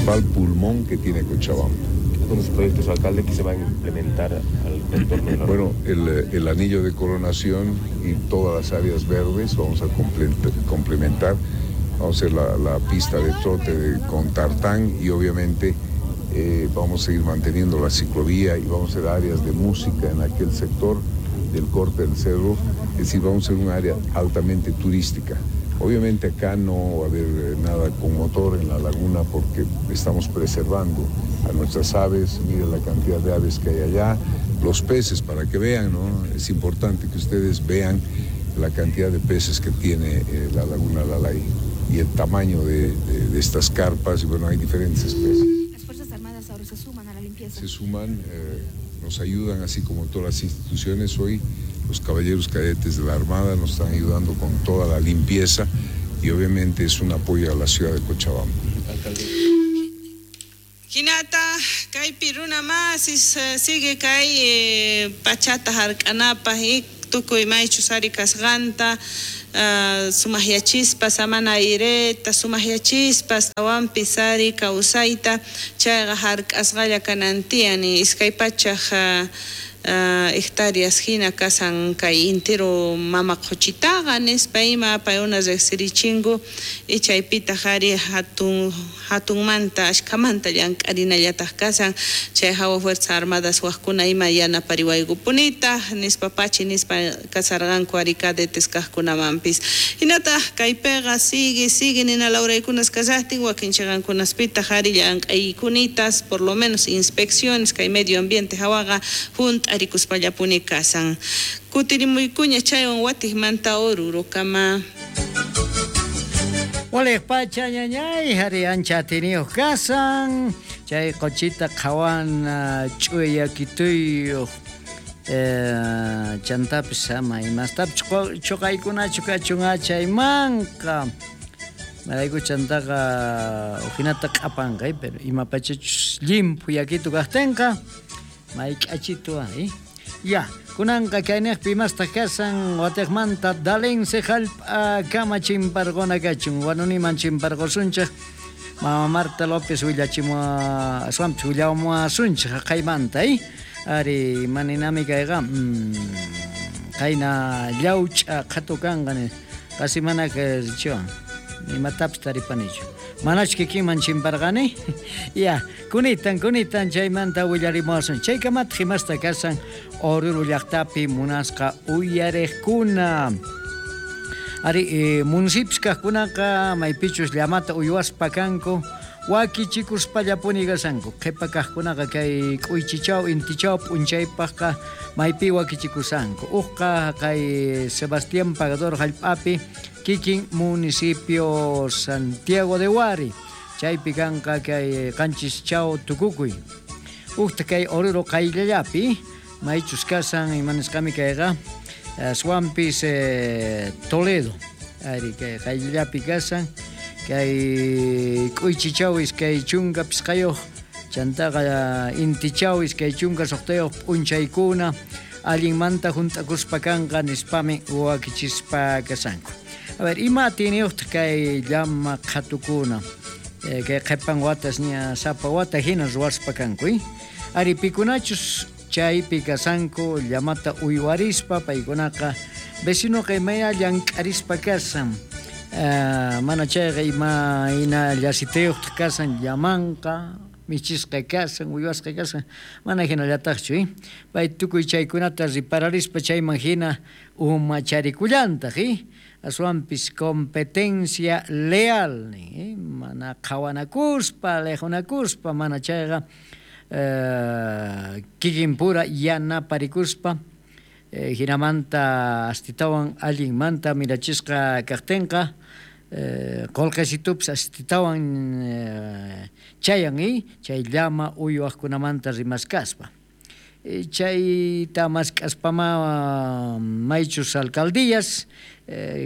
principal pulmón que tiene Cochabamba. Algunos proyectos, alcalde, que se van a implementar al contorno de la Bueno, el anillo de coronación y todas las áreas verdes vamos a complementar, vamos a hacer la pista de trote con tartán y obviamente vamos a seguir manteniendo la ciclovía y vamos a hacer áreas de música en aquel sector del corte del cerro, es decir, vamos a hacer un área altamente turística. Obviamente acá no va a haber nada con motor en la laguna porque estamos preservando a nuestras aves, miren la cantidad de aves que hay allá, los peces para que vean, ¿no? Es importante que ustedes vean la cantidad de peces que tiene la laguna Lalay y el tamaño de estas carpas, y bueno, hay diferentes especies. Las Fuerzas Armadas ahora se suman a la limpieza. Se suman, nos ayudan, así como todas las instituciones hoy. Los caballeros cadetes de la Armada nos están ayudando con toda la limpieza y obviamente es un apoyo a la ciudad de Cochabamba. Hinata, kaypi runa masis sigue kay pachata hark'anapaj y tukuy maychus ari kasqanta sumaqyachispa samana aireta sumaqyachispa astawanpis ari kawsayta chayqa hark'asqalla kanan tiyan iskay pachaj hectáreas hina kasan kay intero mama qhuchitaqa nispa ima paykuna riqsirichinku y chaypitaq ari hatunmanta ashkamanta llank'arinallataq kasan chay hawa Fuerzas Armadas waqkuna ima yanapariwaykupunitaq nispa pachi nispa kasarqanku ari cadetes kaqkunamanpis hinataq kaypiqa sigue nina lawraykunas kashaqtin wakin chiqankunaspitaq ari llank'aykunitas por lo menos inspecciones kay medio ambiente hawaqa hunt'a arikuspallapuni kasan. Kutirimuykuña chaywan watiqmanta Orurokama. Waliq pacha ñañay hari ancha atiniyuq kasan chay quchita qhawan ch'uyakituyuq chantapis ama imastapis chuqaykunachu kachun achaymanqa marayku chantaqa ujinata q'apanqa pero imapachachus llimphu yakitu kaqtinqa mayk'achitu ay ya kunanqa kayniqpi imastaq kasan watiqmanta dalense jallp'a kama chimparquna kachun wanuniman chimparqusunchik mama Marta López willachimua aswanpis willamuasunchik haqaymanta ari maninami kayqa qayna llawch'a qhatu kanqa qasi mana chiwan imatapis taripanichu manachu kikinman chimparqani ya kunitan chaymanta willarimuwasun chaykamataq imasta kasan Oruro llaqtapi munasqa uyariqkuna ari municipios kaqkunaqa maypichus llamata uywaspa kanku wakichikuspallapuni kasanku qhipa kaqkunaqa kay k'uychichaw intichaw p'unchaypaqqa maypi wakichikusanku uqqa kay Sebastián Pagador jallp'api kikin municipio Santiago de Huari chaypi kanqa kay qanchischaw tukukuy uqta kay Oruro qayllallapi maychus kasan imanisqami kayqa aswanpis Toledo ari kay qayllallapi kasan kay k'uychichaw iskay chunka pisqayuq chantaqa intichaw iskay chunka suqtayuq p'unchaykuna allinmanta hunt'akuspa kanqa nispami wakichispa kasanku. A ver, ima atiniyuqtaq kay llama qhatukuna kay qhipan watas ña sapa wata hina ruwaspa kanku ari pikunachus chaypi kasanku llamata uywarispa paykunaqa vecinoqa imaya llank'arispa kasan mana chayqa ima hina llasitayuqtaq kasan llamanqa michisqa kasan uywasqa kasan mana hinallataqchu pay tukuy chaykunata ripararispa chayman hina umacharikullantaq aswanpis competencia leal mana qhawanakuspa liqhunakuspa mana chayqa kikinpura yanaparikuspa hinamanta astitawan allinmanta mirachisqa kaqtinqa qullqisitupis astitawan chayan chay llama uywaqkunamanta rimaskaspa chayta mask'aspama maychus alcaldías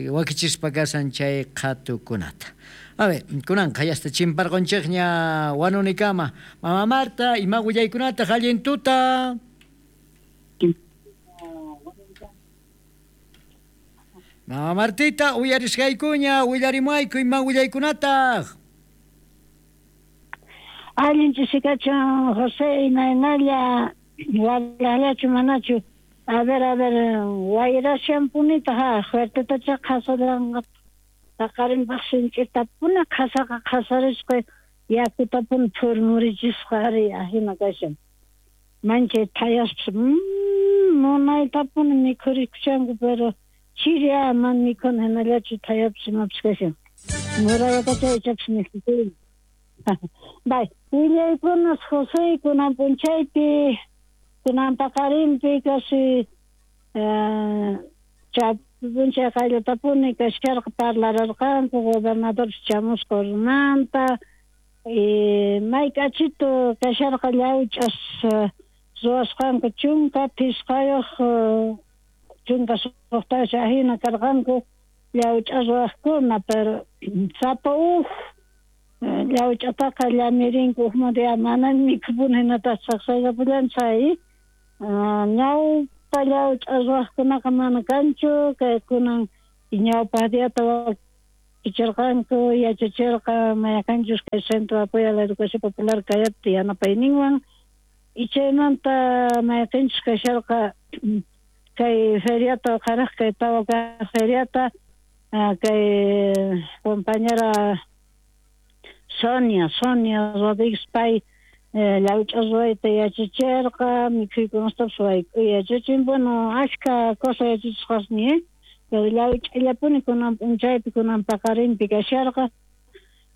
wakichispa kasan chay qhatukunata. A ver, kunanqa yasta chimparqunchikña wanunikama. Mama Marta, ima willaykunata allin tuta. Mama Martita, uyarisqaykuña, willarimuayku ima willaykunataq. Allin ch'isikachun José, imaynalla wallaqllachu manachu. A ver, wayrashanpunitaq ha, fuertetacha qhasaranqa paqarinpaq sinch'itapuni qhasaqa qhasarisqa yakutapuni phurmurichisqa ari ajina kashan. Manchay thayaspas munaytapuni mikhurikushanku, pero chiri mana mikhuna hinallachu thayapas imapas kashan. Murayakacha ichapas mikhukuni. Bay, willaykunas José kunan p'unchaypi, kunan paqarinpi casi p'unchay qayllatapuni kasharqa parlararqanku gobernador chamusqa ormanta y mayk'achitu kasharqa llawch'as ruwasqanku 15 16 ajina karqanku llawch'a ruwaqkuna, pero sapa uj llawch'ataqa llamirinku ujmanta ya mana mikhupuni hinataq saqsayllapullan chay ñawpa llawch'a ruwaqkunaqa mana kanchu, kay kunan ñawpaq diata wakichirqanku yachachirqa mayqanchus kay Centro de Apoyo a la Educación Popular kayapti yanapayninwan y chaymanta mayqinchus kasharqa kay feriata qaraq kay tawa kaq feriata kay compañera Sonia Rodríguez pay llawch'a ruwayta yachachirqa, mikhuykunastapis wayk'uy yachachin, bueno, ashka cosa yachachisqasni, pero llawch'allapuni kunan p'unchaypi kunan paqarinpi kasharqa.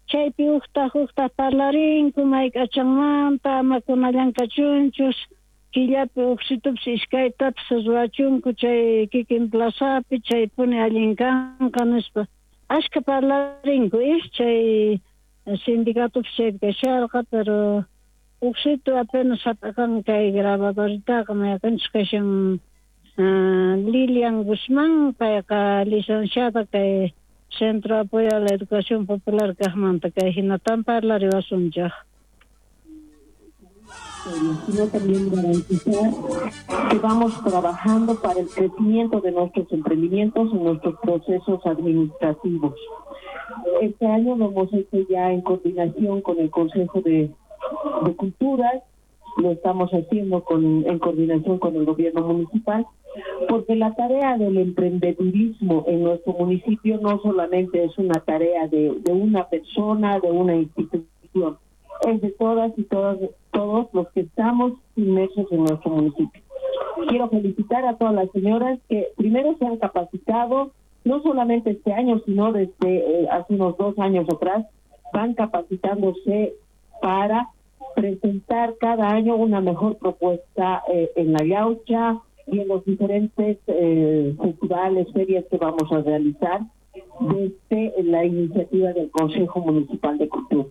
Chaypi uqtaq parlarinku mayk'achanmanta ama kunallan kachunchus, killapi uqsitupis iskaytapis ruwachunku chay kikin plazapi, chaypuni allin kanqa nispa. Ashka parlarinku, chay sindicatopis chaypi kasharqa, pero uqsitu apenas hap'aqan kay grabadoritaqa mayqinchus kashan Lilian Guzmán, payqa licenciada kay Centro de Apoyo a la Educación Popular kaqmanta kay hinatan parlariwasunchaq. Sino también garantizar que vamos trabajando para el crecimiento de nuestros emprendimientos en nuestros procesos administrativos. Este año lo hemos hecho ya en coordinación con el Consejo de Culturas, lo estamos haciendo en coordinación con el gobierno municipal, porque la tarea del emprendedurismo en nuestro municipio no solamente es una tarea de una persona, de una institución, es de todas y todos los que estamos inmersos en nuestro municipio. Quiero felicitar a todas las señoras que primero se han capacitado, no solamente este año, sino desde hace unos 2 años atrás, van capacitándose para presentar cada año una mejor propuesta en la Yaucha y en los diferentes festivales, ferias que vamos a realizar desde la iniciativa del Consejo Municipal de Cultura.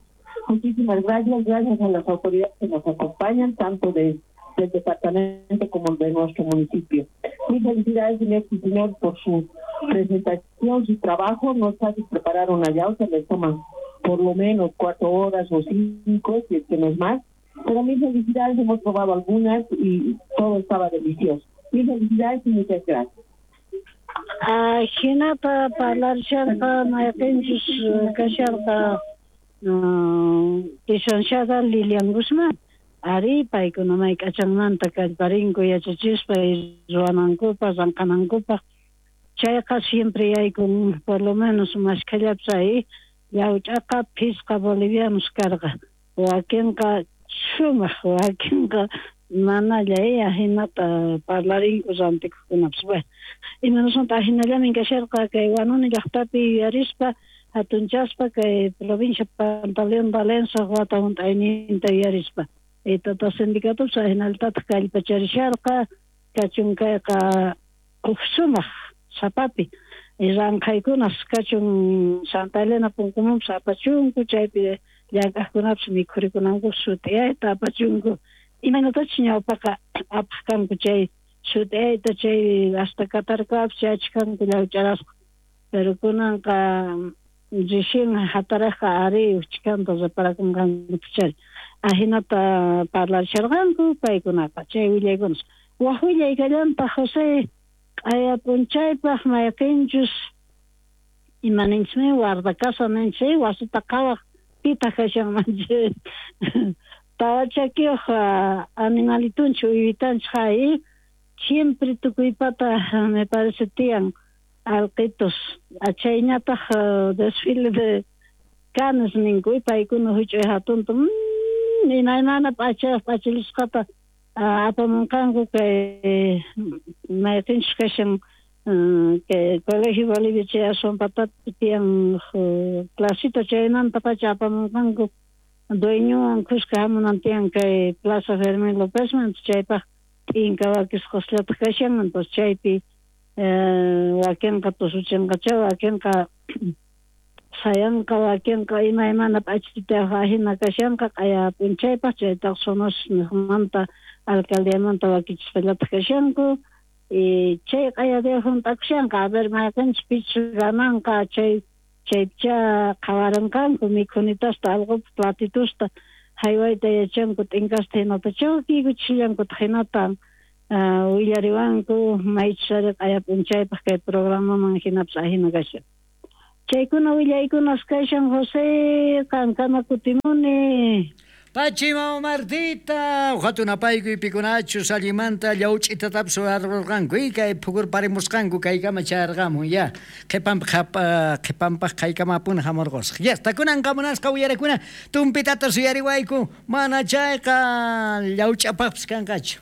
Muchísimas gracias, gracias a las autoridades que nos acompañan, tanto del departamento como de nuestro municipio. Mis felicidades, señor y señor, por su presentación, su trabajo. No es fácil preparar una yaucha, les toman por lo menos 4 horas o 5, si es que no es más. Pero mis felicidades, hemos probado algunas y todo estaba delicioso. Mis felicidades y muchas gracias. Hinata parlarcharqa mayqinchus kasharqa licenciada Lilian Guzmán. Ari paykuna mayk'achanmanta kallparinku yachachispa ruwanankupaq ranqanankupaq. Chayqa siempre yaykun por lo menos mashkhallapis ahí llawch'aqa 5 bolivianos karqa. Wakinqa sumaq, wakinqa manalla ajinata parlarinku rantikuqkunapis. Bueno, imanasmanta ajinallamin kasharqa kay Huanuni llaqtapi yuyarispa hatunchaspa kay provincia Pantaleón Valencia wata hunt'ayninta yuyarispa. Tata sindicatopis ajinaltataq kallpacharisharqa kachun kayqa uj sumaq sapapi. Ranqhaykunas kachun Santa Elena punkumanpis apachunku, chaypi llank'aqkunapis mikhurikunanku sut'iyayta apachunku. Imaynatachus ñawpaqa apaq kanku chay sut'iyayta, chay hasta Katarkapis chayachkanku llawch'arasqa. Pero kunanqa recién hataraqqa ari uchkanta reparakunqankuchari. Ajinata parlasharqanku paykunaqa chay willaykunas. Waj willay kallantaq José q'aya p'unchaypaq mayqinchus imaninchikmi guardacasa ninchik wasita qhawaq pitaq kashanman chay Tawachakiyuq animalitunchik uywitanchik hay siempre tukuypata me parece tiyan alqitus. Chayñataq desfile de canes ninku paykuna huch'uy hatunta imaymana p'achayuq p'achillisqata apamunqanku kay mayqinchus kashan kay Colegio Bolivia chay aswan patapi tiyan clasita chaymantapacha apamunqanku dueñowan kuska hamunan tiyan kay Plaza Fermín Lópezman chaypaq t'inka wakisqasllataq kashan entonces chaypi wakinqa tusuchinqacha wakinqa sayanqa wakinqa imaymana p'achitayuq ajina kashanqa q'aya p'unchaypaq chaytaq Sonos niqmanta alcaldiamanta wakichispallataq kashanku y chay q'aya día hunt'akushanqa a ver mayqinchus pichus gananqa chay chaypicha qhawarinqanku mikhunitasta alqopi platitusta haywayta yachanku t'inkasta hinata chawkiykuchishallankutaq hinata willariwanku maychus ari q'aya p'unchaypaq kay programaman hinapis ajina kashan. Chaykuna willaykunas kashan José, qankama kutimuni. Pachi mama Martita, hatun apaykuy pikunachus allimanta llawch'itatapis warqurqanku kay phukurparimusqanku kaykama chayarqamun ya qhipanpaq qhipanpaq qaykamapuni hamurqusaq. Ya, kunanqa munasqa uyarakuna tumpitata suyariwayku mana chayqa llawch'apaqpis kanqachu.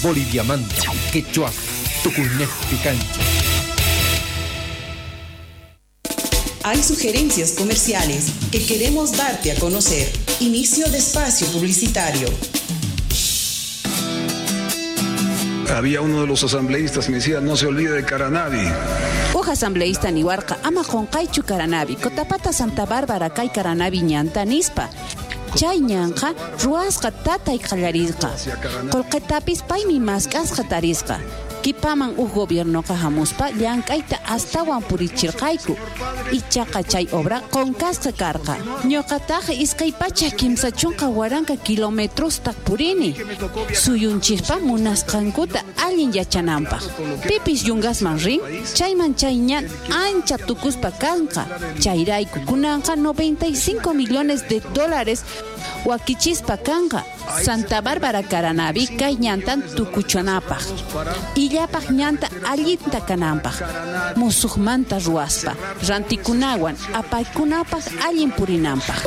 Boliviamanta, quechua, tukuynejpi kanchik. Hay sugerencias comerciales que queremos darte a conocer. Inicio de espacio publicitario. Había uno de los asambleístas que me decía, no se olvide de Caranavi. Uj asambleísta niwarqa ama qunqaychu Caranavi, Cotapata Santa Bárbara kay Caranavi ñanta nispa. Chay ñanqa ruwasqa tatay qallarisqa. Qullqitapis paymi mask'asqa tarisqa. Kipaman uj gobiernoqa hamuspa llank'ayta astawan purichirqayku. Ichaqa chay obra qunqasqa karqa. Ñuqataq 230,000 kilometrosta purini. Suyunchikpa munasqankuta allin yachananpaq. Pipis yungasman rin, chayman chay ñan ancha tukuspa kanqa. Chayrayku kunanqa 95 millones de dólares wakichispa kanqa. Santa Bárbara Caranavi kay ñantan tukuchanapaq. Illapaq ñanta allinta kananpaq. Musuqmanta ruwaspa, rantikunawan apaykunapaq allin purinanpaq.